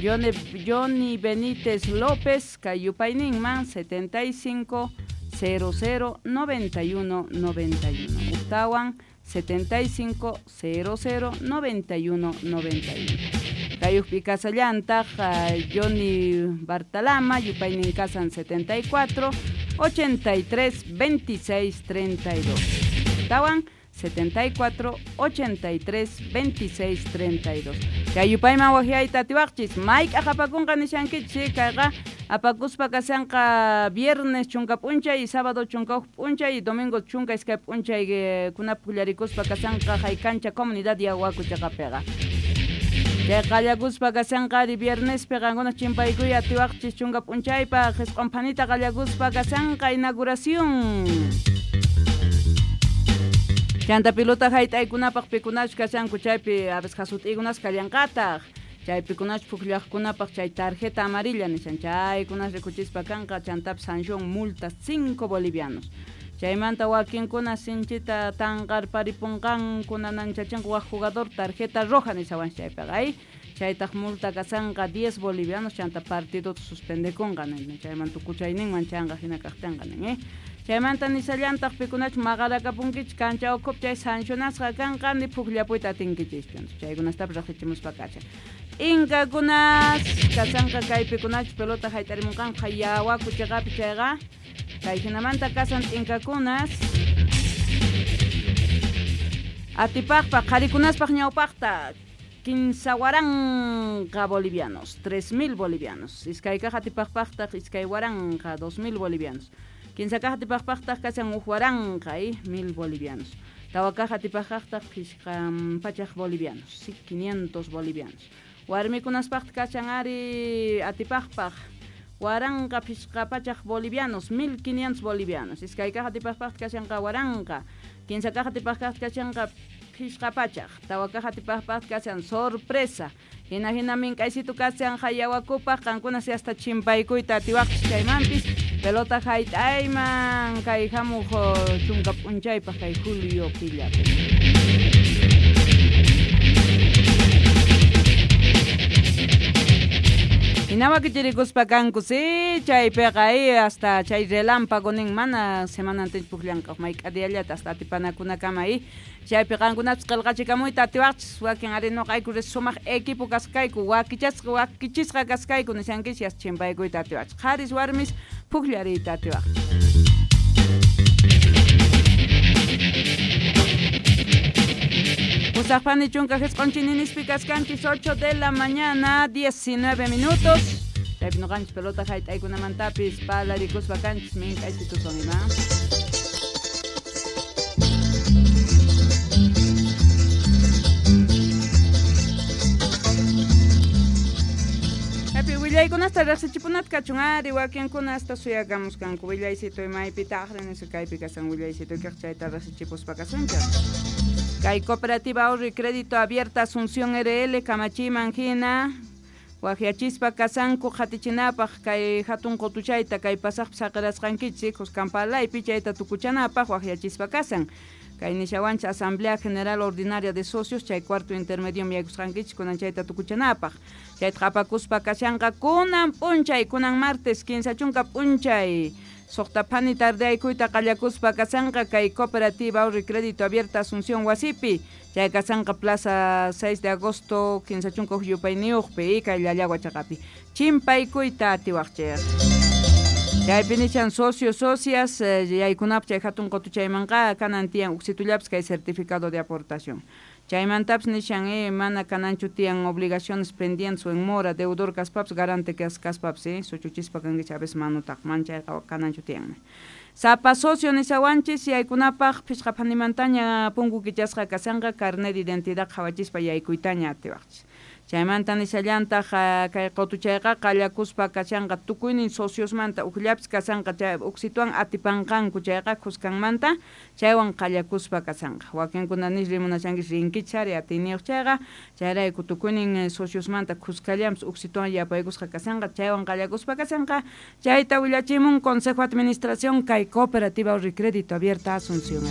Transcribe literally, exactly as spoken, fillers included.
Johnny, Johnny Benítez López kay yupayninman setenta y cinco cero cero noventa y uno noventa y uno. Ujtawan setenta y cinco cero cero noventa y uno noventa y uno. Kayujpi kasallantaq Johnny Bartalama yupaynin kasan setenta y cuatro ochenta y tres veintiséis treinta y dos. Tawan setenta y cuatro ochenta y tres veintiséis treinta y dos. Kay yupayman wajyayta atiwaqchis mayk'aq apakunqa nishankichis kayqa apakuspa kasanqa viernes chunka p'unchay y sábado chunka huk p'unchay y domingo chunka iskay p'unchay kunap pullarikuspa kasanqa haykancha comunidad Yawaku chaqapiqa. Chay qallakuspa kasanqa ari viernespi qankuna chimpaykuy atiwaqchis chunka p'unchaypaq jisq'un phanita qallakuspa kasanqa inauguración. Chanta pilota hayt'aykunapaq pikunachu kashanku chaypi a veces jasut'ikunas kallanqataq. Chaypi kunachu pukllaqkunapaq chay tarjeta amarilla nishan chaykunas rikuchispa kanqa chantapis sanción multa cinco bolivianos. Chaymanta wakinkuna sinchita tanqarparipunqanku nananchachanku waj jugador tarjeta roja nishawan chaypiqa ay chaytaq multa kasanqa diez bolivianos chanta partidota suspendekunqa nin chayman tukuchayninman chanqa hina kaqtinqa nin eh chaymanta nishallantaq pikunachu maqarakapunkichik kancha ukhupi chay sancionasqa kanqa ni pukllapuyta atinkichikchu chaykunastapis riqsichimuspa kashan. T'inkakunas kasanqa kaypikunachu pelota hayt'arimunqanqa Yawaku chaqapi chayqa kay hinamanta kasan t'inkakunas atipaqpaq qharikunaspaq ñawpaqta kinsa waranqa bolivianos, tres mil bolivianos. Iskaykaq atipaqpaqtaq iskay waranqa, dos mil bolivianos. Kinsa kaq atipaqpaqtaq kasan huk waranqa, eh, mil bolivianos. Tawa kaq atipaqpaqtaq phishqa pachaq bolivianos, sí, quinientos bolivianos. Warmikunaspaqtaq kashan ari atipaqpaq waranqa phishqa pachaq bolivianos, mil quinientos bolivianos. Iskay kaq atipaqpaqtaq kashanqa waranqa, kinsa kaq atipaqpaqtaq kashanqa phishqa pachaq, tawa kaq atipaqpaqtaq kashan sorpresa. Hina hina mink'aysitu kashan Yawakupaq qankuna si hasta chimpaykuyta atiwaqchis chaymanpis pelota hayt'ayman kay hamuq chunka p'unchaypaq kay julio killapi. Hina wakichirikuspa kanku si chaypiqa hasta chay relámpago nin mana semanantinchu pukllanqa mayk'a diallata hasta atipanakunakama y chaypi qankunapis qillqachikamuyta atiwaqchis wakin ari nuqayku sumaq equipo kaskayku wakichasqa wakichisqa kaskayku nishankichis chimpaykuyta atiwaqchis qharis warmis pukllariyta atiwaqchis. Pusaqpani chunka jisq'un chininispi kaskanchis ocho de la mañana diecinueve minutos. Chaypi nuqanchis pelota hayt'aykunamantapis palarikuspa kanchis mink'aychitusun ima. Chaypi willaykunasta riqsichipunata kachun ari wakinkunasta suyakamuskanku willaysitu imaypitaq nisqa kaypi kasan willaysitu kaq chayta riqsichipuspa kasunchaq. Kay Cooperativa Ahorro y Crédito Abierta Asunción R L kamachiman hina wajyachispa kasanku qatichinapaq kay hatun qutuchayta kay pasaqpi saqirasqankichik Cuscampalaypi chayta tukuchanapaq wajyachispa kasan. Kay nishawanchik Asamblea General Ordinaria de Socios chay cuarto intermedio yaykusqankichik kunan chayta tukuchanapaq. Chayta qhapakuspa kashanqa kunan p'unchay kunan martes kinsa chunka p'unchay. Suqta phani tardeaykuyta qallakuspa kasanqa kay Cooperativa Ahorro y Crédito Abierta Asunción wasipi. Chay kasanqa Plaza seis de agosto kinsa chunka huk yupayniyuqpi kay Llallagua chaqapi. Chimpaykuyta atiwaqchik. Chaypi nichan socios, socias, yaykunap chay hatun qutuchaymanqa kanan tiyan uksitullapis kay certificado de aportación. Chaymantapis nishan eh, mana kananchu tiyan obligaciones pendientes o en mora, deudor kaspaps, garante kaspaps, eh, suchuchispa kankichik a veces manutaq, man chayqa kananchu tiyan. Sapa socio nishawanchis yaykunapaq phishqa phanimantaña punku kichasqa kasanqa carnet de identidad qhawachispa yaykuytaña atiwaqchis. Chaymanta nishallantaq kay qutuchayqa qallakuspa kashanqa tukuynin sociosmanta ukllapis kasanqa chay uksituwan atipanqanku chayqa khuskanmanta chaywan qallakuspa kasanqa. Wakinkuna nish rimunashankichis rinkichis ari atiyniyuq chayqa chayrayku tukuynin sociosmanta khuskallanpis uksituwan yapaykusqa kasanqa chaywan qallakuspa kasanqa chayta willachimun Consejo Administración kay Cooperativa Ahorro y Crédito Abierta Asunción.